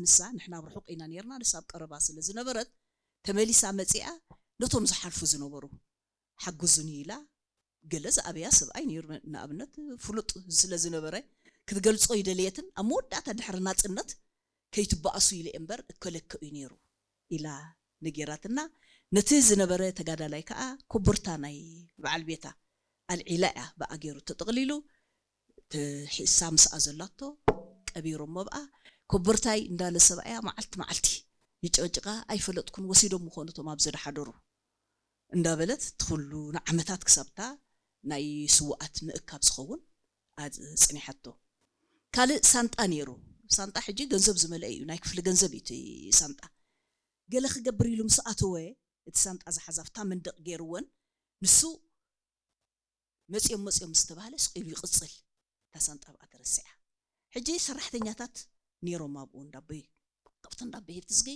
ንሳ፣ ንሕና ኣብ ርሑቕ ኢና ነርና፣ ንሳ ኣብ ቀረባ ስለ ዝነበረት፣ ተመሊሳ መጺኣ ነቶም ዝሓልፉ ዝነበሩ ሓግዙኒ ኢላ፣ ገለ ዝኣብያ ሰብኣይ ነይሩ፣ ንኣብነት ፍሉጥ ስለ ዝነበረ ክትገልጾ ይደልየትን፣ ኣብ መወዳእታ ድሕሪ ናጽነት ከይትበኣሱ ኢለ እምበር እከለክእ እዩ ነይሩ ኢላ ነጊራትና። ነቲ ዝነበረ ተጋዳላይ ከኣ ኮቦርታ ናይ በዓል ቤታ ኣልዒላ እያ ብኣገይሩ ተጠቕሊሉ። ተሒሳ ምስኣ ዘላቶ ቀቢሮሞ ብኣ። ኮቦርታይ እንዳለ ሰብኣያ መዓልቲ መዓልቲ ይጨቅጭቃ። ኣይፈለጥኩን፣ ወሲዶም ምኾኑ እቶም ኣብዚ ዝሓደሩ እንዳበለት እቲ ኩሉ ንዓመታት ክሳብታ ናይ ስውኣት ምእካብ ዝኸውን ኣጽኒሓቶ። ካልእ ሳንጣ ነይሩ። ሳንጣ ሕጂ ገንዘብ ዝመልአ እዩ፣ ናይ ክፍሊ ገንዘብ እዩ እቲ ሳንጣ። ገለ ክገብር ኢሉ ምስ ኣተወ፣ እቲ ሳንጣ ዝሓዛ ኣብታ መንደቕ ገይርወን፣ ንሱ መጽዮም መጽዮም ምስ ተባህለ ስቕ ኢሉ ይቕጽል። እታ ሳንጣ ኣብኣ ተረሲዓ። ሕጂ ሰራሕተኛታት ነይሮም ኣብኡ እንዳበይ ካብቲ እንዳበይ ትዝጊ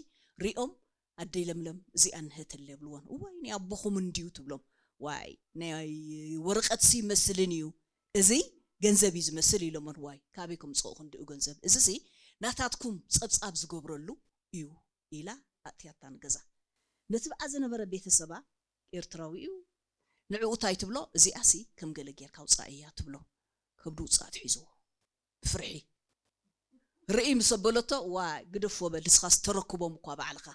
ሪኦም ኣደይ ለምለም እዚኣ ንህተለ የብልዎን። እዋይ ናይ ኣቦኹም እንድዩ ትብሎም። ዋይ ናይ ወረቐት ሲ ይመስልን እዩ እዚ ገንዘብ እዩ ዝመስል ኢሎመን። ዋይ ካበይ ከምፅኦ ክንድኡ ገንዘብ እዚ ሲ ናታትኩም ፀብፃብ ዝገብረሉ እዩ ኢላ ኣእትያታ ንገዛ። ነቲ ብኣ ዝነበረ ቤተሰባ ኤርትራዊ እዩ ንዕኡ እንታይ ትብሎ እዚኣ ሲ ከም ገለ ጌርካ ውፃእ እያ ትብሎ። ከብዱ ውፃእ ትሒዝዎ ብፍርሒ ርእይ ምስ ኣበለቶ ዋ ግደፍዎ በል ንስኻስ ተረክቦም እኳ ባዕልኻ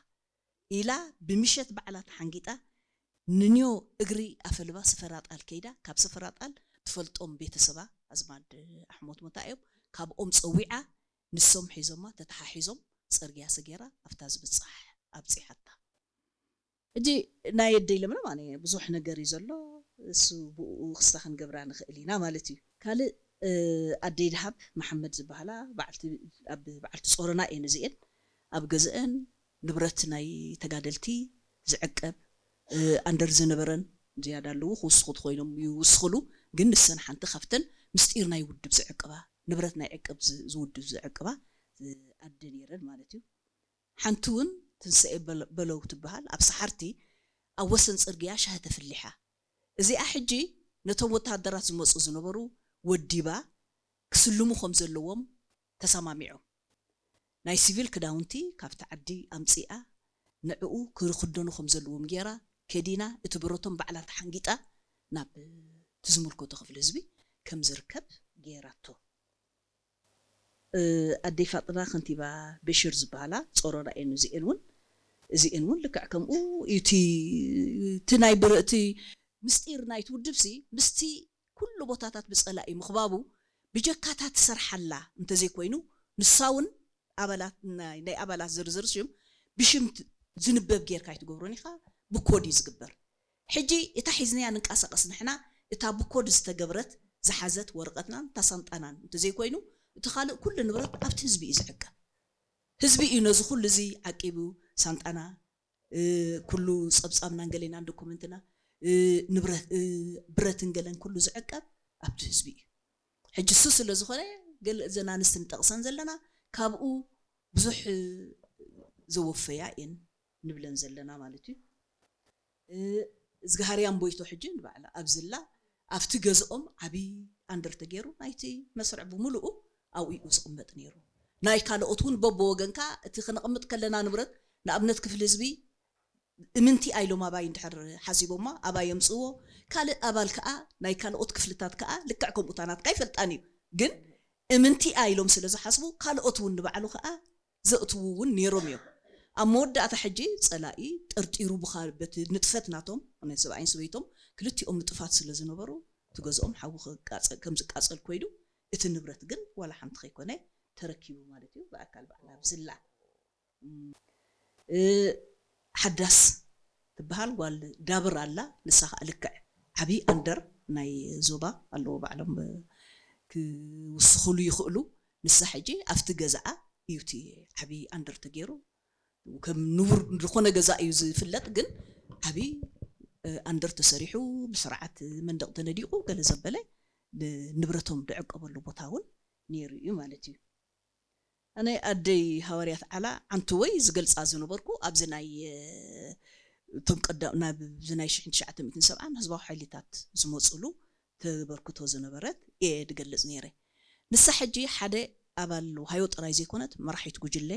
ኢላ ብምሸት ባዕላ ተሓንጊጣ ንንዮ እግሪ ኣፈልባ ስፈራጣል ከይዳ ካብ ስፈራጣል ትፈልጦም ቤተሰባ ኣዝማድ ኣሕሞት ሞታ እዮም ካብኦም ፀዊዓ ንሶም ሒዞማ ተተሓሒዞም ፅርግያ ሰጌራ ኣብታ ዝብፃሕ ኣብፂሓታ። ሕጂ ናይ ኣደይ ለምለም ኣነ ብዙሕ ነገር እዩ ዘሎ እሱ ብኡ ክስታ ክንገብራ ንኽእል ኢና ማለት እዩ ካልእ ኣደይ ድሃብ መሓመድ ዝበሃላ በዓልቲ ፆረና እየን እዚአን ኣብ ገዝአን ንብረት ናይ ተጋደልቲ ዝዕቀብ ኣንደር ዝነበረን ዝያዳ ኣለዉ ክውስኹ ትኮይኖም ይውስኽሉ ግን ንሰን ሓንቲ ካብተን ምስጢር ናይ ውድብ ዝዕቅባ ንብረት ናይ ዕቅብ ዝውድብ ዝዕቅባ ኣደ ነይረን ማለት እዩ ሓንቲ እውን ትንሳኤ በለው ትበሃል ኣብ ሰሓርቲ ኣብ ወሰን ፅርግያ ሻሂ ተፍሊሓ። እዚኣ ሕጂ ነቶም ወተሃደራት ዝመፁ ዝነበሩ ወዲባ ክስልሙ ከም ዘለዎም ተሰማሚዖም። ናይ ሲቪል ክዳውንቲ ካብቲ ዓዲ ኣምፂኣ ንዕኡ ክኽደኑ ከም ዘለዎም ገይራ ከዲና እቲ ብረቶም ባዕላ ተሓንጊጣ ናብ እቲ ዝምልከቶ ክፍሊ ህዝቢ ከም ዝርከብ ገይራቶ። ኣደይ ፋጥና ከንቲባ በሽር ዝበሃላ ጾሮና እየን እዚኤን እውን እዚኤን እውን ልክዕ ከምኡ እዩ እቲ እቲ ናይ ብረ እቲ ምስጢር ናይቲ ውድብ ሲ ምስቲ ኩሉ ቦታታት ብጸላኢ ምኽባቡ ብጀካታ ትሰርሓላ እንተዘይኮይኑ ንሳ እውን ኣባላት ናይ ኣባላት ዝርዝር ሽም ብሽም ዝንበብ ጌርካ ኣይትገብሮን ኢኻ ብኮድ እዩ ዝግበር ሕጂ እታ ሒዝናያ ንንቀሳቐስ ንሕና እታ ብኮድ ዝተገብረት ዝሓዘት ወረቐትናን እታ ሳንጣናን እንተዘይኮይኑ እቲ ካልእ ኩሉ ንብረት ኣብቲ ህዝቢ እዩ ዝዕቀብ። ህዝቢ እዩ ነዚ ኩሉ እዚ ዓቂቡ ሳንጣና ኩሉ ጸብጻብናን ገሌናን ዶኩመንትና ንብረት ብረትን ገለን ኩሉ ዝዕቀብ ኣብቲ ህዝቢ እዩ። ሕጂ እሱ ስለ ዝኾነ ገለ እዘን ኣንስቲ ንጠቕሰን ዘለና ካብኡ ብዙሕ ዘወፈያ እየን ንብለን ዘለና ማለት እዩ። እዝግሃርያን ቦይቶ ሕጂ ንባዕላ ኣብዝላ ኣብቲ ገዝኦም ዓብዪ ኣንደር ተገይሩ ናይቲ መስርዕ ብምሉኡ ኣብኡ እዩ ዝቕመጥ ነይሩ። ናይ ካልኦት እውን በቦወገንካ እቲ ክነቕምጥ ከለና ንብረት ንኣብነት ክፍሊ ህዝቢ እምንቲ ኣይሎም ኣባይ እንድሕር ሓሲቦማ ኣባይ የምፅዎ ካልእ ኣባል ከዓ ናይ ካልኦት ክፍልታት ከዓ ልክዕ ከምኡ ታናትካ ኣይፈልጣን እዩ ግን እምንቲ ኣይሎም ስለ ዝሓስቡ ካልኦት እውን ንባዕሉ ከዓ ዘእትዉ እውን ነይሮም እዮም። ኣብ መወዳእታ ሕጂ ጸላኢ ጠርጢሩ ብካ በቲ ንጥፈት ናቶም ናይ ሰብኣይን ሰበይቶም ክልቲኦም ንጥፋት ስለ ዝነበሩ እቲ ገዝኦም ሓዊ ክቃጸል ከም ዝቃጸል ኮይዱ እቲ ንብረት ግን ዋላ ሓንቲ ከይኮነ ተረኪቡ ማለት እዩ ብኣካል ባዕላ ብዝላ ሓዳስ ትበሃል ጓል ዳብር ኣላ ንሳ ከዓ ልክዕ ዓብዪ ኣንደር ናይ ዞባ ኣለዎ ባዕሎም ክውስኽሉ ይኽእሉ ንሳ ሕጂ ኣብቲ ገዛኣ እዩ እቲ ዓብዪ ኣንደር ተገይሩ ከም ንቡር ዝኾነ ገዛ እዩ ዝፍለጥ ግን ዓብዪ ኣንደር ተሰሪሑ ብስርዓት መንደቕ ተነዲቑ ገለ ዘበለ ንብረቶም ዝዕቀበሉ ቦታ እውን ነይሩ እዩ ማለት እዩ። ኣነ ኣደይ ሃዋርያት ዓላ ዓንትወይ ዝገልፃ ዝነበርኩ ኣብዚ ናይ እቶም ቀዳም ናብዚ ናይ ሽሕን ትሽዓተ ሚእትን ሰብዓን ህዝባዊ ሓይልታት ዝመፅሉ ተበርክቶ ዝነበረት እየ ድገልፅ ነይረ። ንሳ ሕጂ ሓደ ኣባል ውሃዮ ጥራይ ዘይኮነት መራሒት ጉጅለ